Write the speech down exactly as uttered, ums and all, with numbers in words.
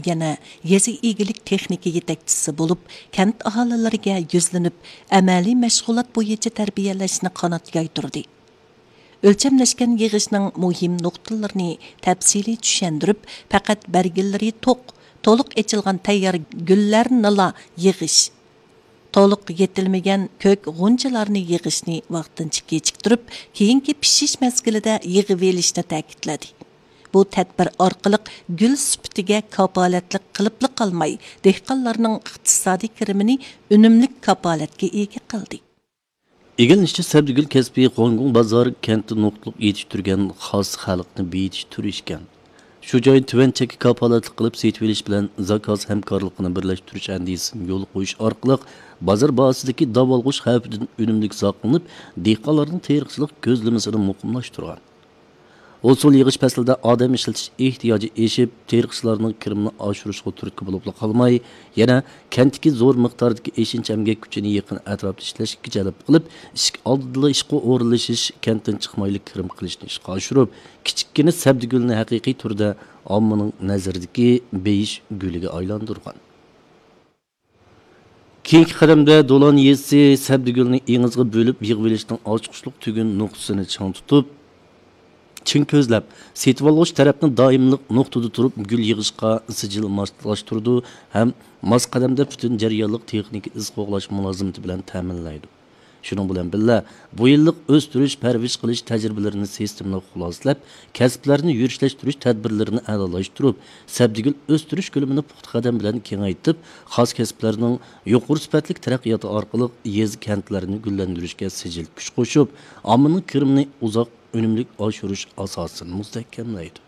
يەنە يېزا ئىگىلىك تېخنىكا يېتەكچىسى بولۇپ، كەنت ئاھالىلىرىگە يۈزلىنىپ، ئەمەلىي مەشغۇلات بويىچە تەربىيەلەشنى قانات يايدۇردى. ئۆلچەملەشكەن يىغىشنىڭ مۇھىم نۇقتىلىرىنى تەپسىلىي چۈشەندۈرۈپ، پەقەت بەرگىلىرى توق، تولۇق ئېچىلغان تەييار گۈللەرنىلا يىغىش، تولۇق يېتىلمىگەن كۆك غۇنچىلارنى يىغىشنى ۋاقتىنچە كېچىكتۈرۈپ، كېيىنكى پىشىش مەزگىلىدە يىغىۋېلىشنى تەكىتلىدى. بۇ تەدبىر ئارقىلىق گۈل سۈپىتىگە كاپالەتلىك قىلىپلا قالماي، دېھقانلارنىڭ ئىقتىسادىي كىرىمىنى ئۈنۈملۈك كاپالەتكە ئىگە قىلدى. ئىگىلىنىشىچە، سەبزىگۈل كەسپى خوڭكوڭ بازار كەنتتە نۇقتىلىق يېتىشتۈرگەن خاس خەلقنى بېيىتىش تۈرى ئىكەن. شۇ جايدا تۆۋەن چەككە كاپالەتلىك قىلىپ سېتىۋېلىش بىلەن زاكاز ھەمكارلىقىنى بىرلەشتۈرۈش ئەندىزىسىنى يولغا قويۇش ئارقىلىق، بازار باھاسىدىكى داۋالغۇش خەۋپىدىن ئۈنۈملۈك ساقلىنىپ، دېھقانلارنىڭ تېرىقچىلىق كۆزلىمىسىنى مۇقىملاشتۇرغان. ھوسۇل يىغىش پەسلىدە ئادەم ئىشلىتىش ئېھتىياجى ئېشىپ، تېرىقچىلارنىڭ كىرىمىنى ئاشۇرۇشىغا تۈرتكە بولۇپلا قالماي، يەنە كەنتتىكى زور مىقداردىكى ئېشىنچا ئەمگەك كۈچىنى يېقىن ئەتراپتا ئىشلەشكە جەلپ قىلىپ، ئىشىك ئالدىدىلا ئىشقا ئورۇنلىشىش، كەنتتىن چىقمايلا كىرىم قىلىشنى ئىشقا ئاشۇرۇپ، كىچىككىنە سەبدىگۈلنى ھەقىقىي تۈردە ئاممىنىڭ نەزىرىدىكى بېيىش گۈلىگە ئايلاندۇرغان. كېيىنكى قەدەمدە دولان يېزىسى سەبدىگۈلنى ئېڭىزغا بۆلۈپ يىغىۋېلىشنىڭ ئاچقۇچلۇق تۈگۈن نۇقتىسىنى چىڭ تۇتۇپ، چىڭ كۆزلەپ، سېتىۋالغۇچى تەرەپنى دائىملىق نۇقتىدا تۇرۇپ گۈل يىغىشقا سىجىل ماسلاشتۇرىدۇ ھەم ماس قەدەمدە پۈتۈن جەريانلىق تېخنىكا ئىز قوغلاش مۇلازىمىتى بىلەن تەمىنلەيدۇ. شۇنىڭ بىلەن بىللە، بۇ يىللىق ئۆستۈرۈش، پەرۋىش قىلىش تەجرىبىلىرىنى سىستېمىلىق خۇلاسىلەپ، كەسىپلەرنى يۈرۈشلەشتۈرۈش تەدبىرلىرىنى ئەلالاشتۇرۇپ، سەبدىگۈل ئۆستۈرۈش كۆلىمىنى پۇختا قەدەم بىلەن كېڭەيتىپ، خاس كەسىپلەرنىڭ يۇقىرى سۈپەتلىك تەرەققىياتى ئارقىلىق يېزا، كەنتلەرنى گۈللەندۈرۈشكە سىجىل كۈچ قوشۇپ، ئاممىنىڭ كىرىمىنى ئۇزاق ئۈنۈملۈك ئاشۇرۇش ئاساسىنى مۇستەھكەملەيدۇ.